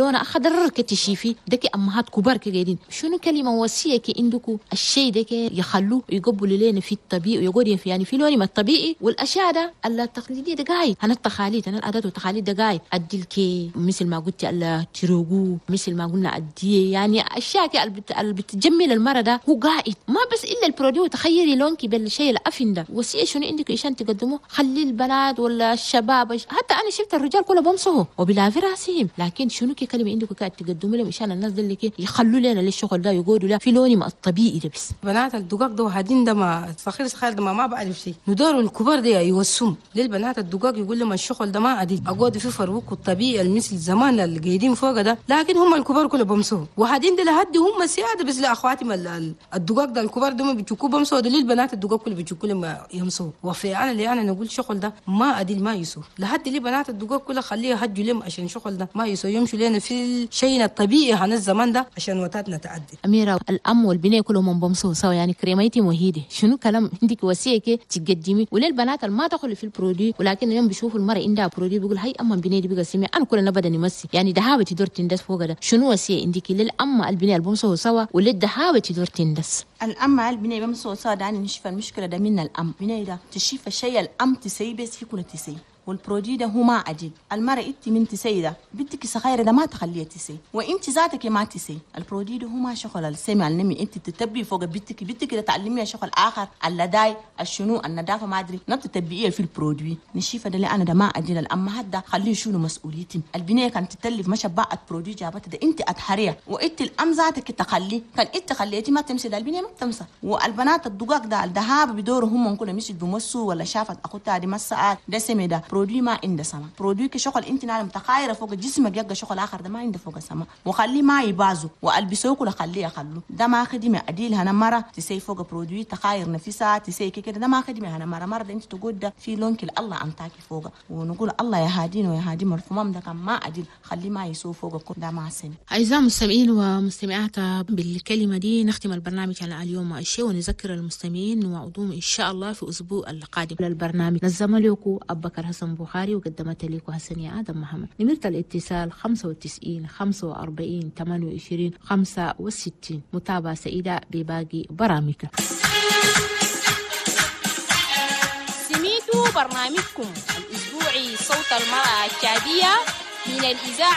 لون اخضر كتشيفي دك امهات كبار كجايين. شنو كلمة وصية كي عندكم الشيء دك يخلوه يقبلوا لنا في الطبيعي ويقولوا في يعني في لون ما الطبيعي والاشياء ده التقليدية ده جاي انا التقاليد، انا العادات والتقاليد ده جاي اديلكي مثل ما قلت التروجو، مثل ما قلنا اديه، يعني اشياء اللي بتجمل المرة ده هو قاعد ما بس الا ال produit تخيري لونك بالشيء الافن ده. وصية شنو عندك عشان تقدموه؟ خلي البنات ولا الشباب، حتى انا شفت الرجال كله بمسوه وبلا في راسهم، لكن شنو كي كلمة عندك قاعد تقدموا لهم عشان الناس اللي يخلوا لنا للشغل ده يقولوا لا في لوني ما الطبيعي ده بس. بنات الدقاق ده وهادين ده ما صغير صغير ده ما بعرف شيء، ندور الكبار ده يوسم للبنات الدقاق يقول لهم الشغل ده ما عادي اقعد في فروق الطبيعي المثل زمان اللي قاعدين فوق ده، لكن هم الكبار كله بمسوه وهادين ده لهدي هم سيادة بس لاخواتي الدقاق ده الكبار ده ما بيشوكوا بمسوه ده للبنات الدقاق كله بيشوكوا لما يمسوه. وفي انا اللي انا نقول شغل ده ما عادل ما يسوه لحد لي بنات الدقاق كله خليها هجوا لهم عشان شغل ده ما يسوه يمشوا لنا في الشيء الطبيعي عن الزمان ده عشان وتاتنا تعدي. أميرة الأم والبنية كلهم بمسوا سوا، يعني كريميتي مهيدة شنو كلام عندك وصية كي تقدمي وللبنات ما تدخل في ال produit، ولكن يوم بيشوفوا المرأة عندها produit بيقول هاي أما البنية دي بقى سمي أنا كلنا بدنا نمسي، يعني دهابة تدور تندس فوق ده. شنو وصية عندك للأم البنية اللي بمسوا سوا وللدهابة تدور تندس؟ الأم البنية بمسوا سوا ده أنا نشوف المشكلة ده من الأم بنية ده تشوف الشيء الأم تسيب بس يكون تسيب وال produit ده هو ما عديل. المرأة انت من تسي ده بنتك صغيرة ده ما تخليها تسي وانت ذاتك ما تسي. ال produit ده هو ما شغل السمع النمي انت تتبي فوق بنتك، بنتك ده تعلميها شغل اخر اللداي الشنو النظافة ما ادري ما تتبقيها في ال produit. نشيفه ده اللي انا ده ما عديل. الامهات ده خليه شنو مسؤوليتي البنية كانت تتلف ما شبعت produit جابتها ده انت اتحريها وانت الام ذاتك تخلي كان انت خليتي ما تمسي ده البنية ما تمسى. والبنات الدقاق ده الذهاب بدوره هم كلهم مش بمسوا ولا شافت اخوتها دي مسات ده سمي ده produit ما عنده سما. produit كشغل انت نعلم تخايره فوق جسمك يبقى شغل اخر ده ما عنده فوق سما وخليه ما يبازو والبسوه كله خليه يخلو ده ما خدمة اديل هنا مرة تسي فوق produit تخاير نفسها تسي كده ده ما خدمة هنا مرة مرة انت تقول ده في لونك الله انتاكي فوق ونقول الله يا هادين ويا هادي مرفومام ده كان ما اديل خليه ما يسو فوق ده ما سن. اعزائي المستمعين ومستمعات، بالكلمة دي نختم البرنامج على اليوم الشيء ونذكر المستمعين وعدوم ان شاء الله في اسبوع القادم للبرنامج. نظم لكم ابو بكر حسن بخاري وقدمت لكم حسنية آدم محمد. نمرة الاتصال 95 45 28 65. متابعة سعيدة بباقي برامجنا. سميتوا برنامجكم الأسبوعي صوت المرأة التشادية من الإذاعة